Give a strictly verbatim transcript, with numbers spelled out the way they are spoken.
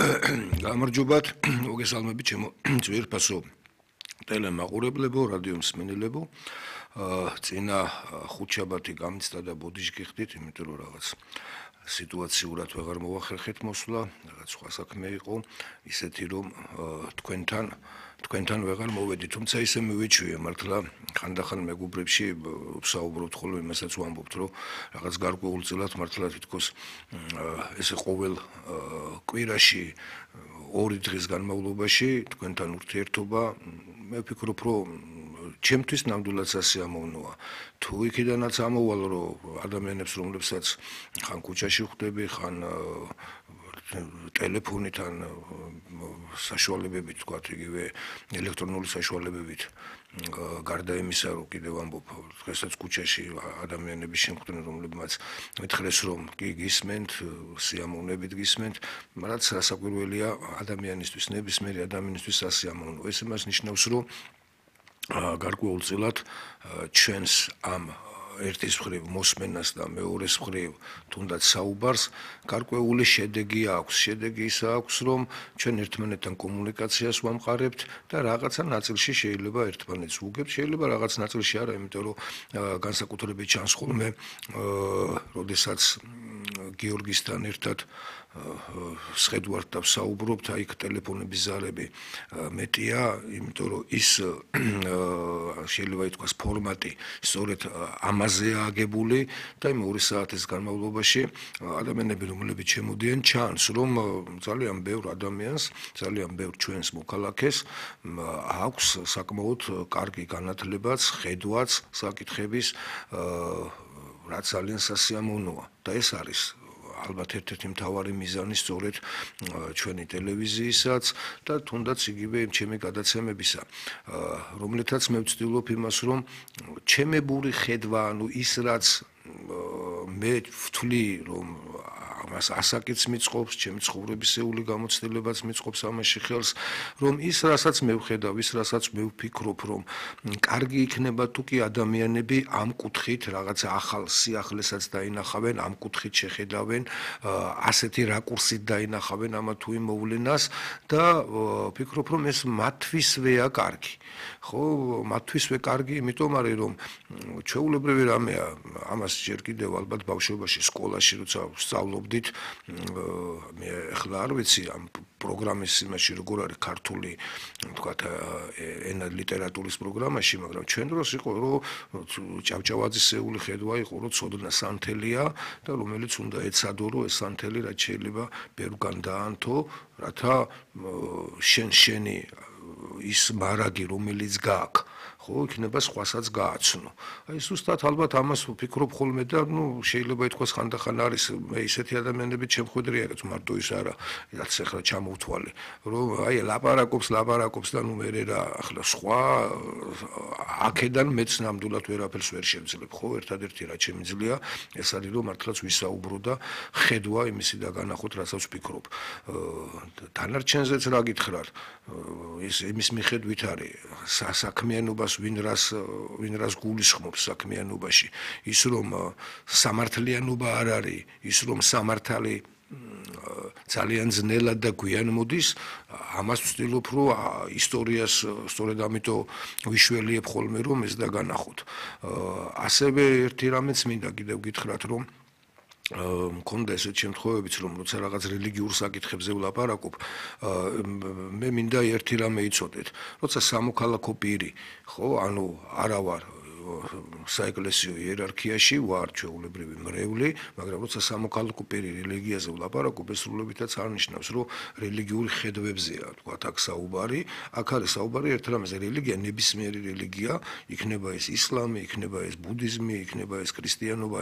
გამარჯობათ, მოგესალმებით ჩემო ძვირფასო ტელემაყურებლებო, რადიო მსმენელებო. წინა ხუთშაბათი გამიცდა და ბოდიშ გიხდით, იმიტომ რომ რაღაც სიტუაციურად ვეღარ მოვახერხეთ მოსვლა, რაღაც სხვა საქმე იყო, ისეთი რომ თქვენთან თქვენთან ვეღარ მოვედი, თუმცა ისე მივიჩვია მართლა ხანდახან მეგობრებში ვსაუბრობთ ხოლმე იმასაც ვამბობთ, რომ რაღაც გარკვეულწილად მართლა თითქოს ესე ყოველ კვირაში ორი დღის განმავლობაში თქვენთან ურთიერთობა მე ვფიქრობ, რომ ჩემთვის ნამდვილად სასიამოვნოა. თუ იქიდანაც ამოვალ, რომ ადამიანებს, რომლებსაც ხან ქუჩაში ხვდები, ხან ტელეფონიდან საშუალებებით, თქვათ, იგივე ელექტრონული საშუალებებით, გარდა იმისა, რომ კიდევ ამბობ, დღესაც ქუჩაში ადამიანები შემხვდნენ, რომლებმაც მითხრეს, რომ კი გისმენთ, სიამოვნებით გისმენთ, რაც რასაკვირველია ადამიანისთვის, ნებისმიერი ადამიანისთვის სასიამოვნოა. ეს იმას ნიშნავს, რომ გარკვეულწილად ჩვენს ამ ერთის მხრივ მოსმენას და მეორეს მხრივ თუნდაც საუბარს გარკვეული შედეგი აქვს. შედეგი ისა აქვს, რომ ჩვენ ერთმანეთთან კომუნიკაციას ვამყარებთ და რაღაცა ნაწილში შეიძლება ერთმანეთს ვუგებთ, შეიძლება რაღაც ნაწილში არა, იმიტომ რომ განსაკუთრებით ჩანს ხოლმე, როდესაც გიორგისთან ერთად სხედვართ და ვსაუბრობთ, აი იქ ტელეფონების ზარები მეტია, იმიტომ რომ ის შეიძლება ითქვას ფორმატი სწორედ ამაზეა აგებული და იმ ორი საათის განმავლობაში ადამიანები, რომლებიც შემოდიან, ჩანს, რომ ძალიან ბევრ ადამიანს, ძალიან ბევრ ჩვენს მოქალაქეს აქვს საკმაოდ კარგი განათლებაც, ხედვაც საკითხების, რაც ძალიან სასიამოვნოა და ეს არის ალბათ ერთ-ერთი მთავარი მიზანი სწორედ ჩვენი ტელევიზიისაც და თუნდაც იგივე ჩემი გადაცემებისა, რომლითაც მე ვცდილობ იმას, რომ ჩემებური ხედვა, ანუ ის რაც მე ვთვლი, რომ ამას ასაკიც მიწყობს, ჩემი ცხოვრებისეული გამოცდილებაც მიწყობს ამაში ხელს, რომ ის რასაც მე ვხედავ, ის რასაც მე ვფიქრობ, რომ კარგი იქნება თუ კი ადამიანები ამ კუთხით რაღაცა ახალ სიახლესაც დაინახავენ, ამ კუთხით შეხედავენ, ასეთი რაკურსით დაინახავენ ამა თუ იმ მოვლენას და ვფიქრობ, რომ ეს მათთვისვეა კარგი. ხო, მათთვისვე კარგი, იმიტომ არის, რომ ჩვეულებრივი რამეა, ამას ჯერ კიდევ ალბათ ბავშვობაში სკოლაში როცა ვსწავლობდით, მე ახლა არ ვიცი ამ პროგრამის იმაში როგორ არის ქართული, თქვათ, ენა ლიტერატურის პროგრამაში, მაგრამ ჩვენ დროს იყო, რომ ჭავჭავაძისეული ხედვა იყო, რომ ცოდნა სანთელია და რომელიც უნდა ეცადო, რომ ეს სანთელი რაც შეიძლება ბევრგან დაანთო, რათა შენ შენი ის მარაგი, რომელიც გააქვს, ხო, იქნება სხვასაც გააცნო. აი ზუსტად ალბათ ამას ვფიქრობ ხოლმე და ნუ შეიძლება ითქვას ხანდახან არის მე ისეთი ადამიანები შემხვედრია, რაც მარტო ის არა, რაც ახლა ჩამოვთვალე, რომ აი ლაპარაკობს, ლაპარაკობს და ნუ მე რა ახლა სხვა აქედან მეც ნამდვილად ვერაფერს ვერ შევძლებ, ხო, ერთადერთი რაც შემიძლია, ეს არის რომ მართლაც ვისაუბრო და ხედვა იმისი და განახოთ, რასაც ვფიქრობ. დანარჩენზეც რა გითხრათ, ის იმის მიხედვით არის სასაქმიანობას ვინ რას ვინ რას გულისხმობს საქმიანობაში, ის რომ სამართლიანობა არ არის, ის რომ სამართალი ძალიან ძნელად და გვიან მოდის, ამას ვცდილობ, რომ ისტორიას სწორედ ამიტომ ვიშველიებ ხოლმე, რომ ეს და განახოთ. ასევე ერთი რამეც მინდა კიდევ გითხრათ, რომ მქონდა ესეთ შემთხვევებიც, რომ როცა რაღაც რელიგიურ საკითხებზე ვლაპარაკობ, მე მინდა ერთი რამე იცოდეთ, როცა სამოქალაქო პირი, ხო, ანუ არა ვარ საეკლესიო იერარქიაში, ვარ ჩვეულებრივი მრევლი, მაგრამ როცა სამოქალაქო პირი რელიგიაზე ვლაპარაკობ, ეს სრულებითაც არ ნიშნავს, რომ რელიგიური ხედვებზეა, თქვათ, აქ საუბარი, აქ არის საუბარი ერთ რამეზე, რელიგია ნებისმიერი რელიგია, იქნება ეს ისლამი, იქნება ეს ბუდიზმი, იქნება ეს ქრისტიანობა,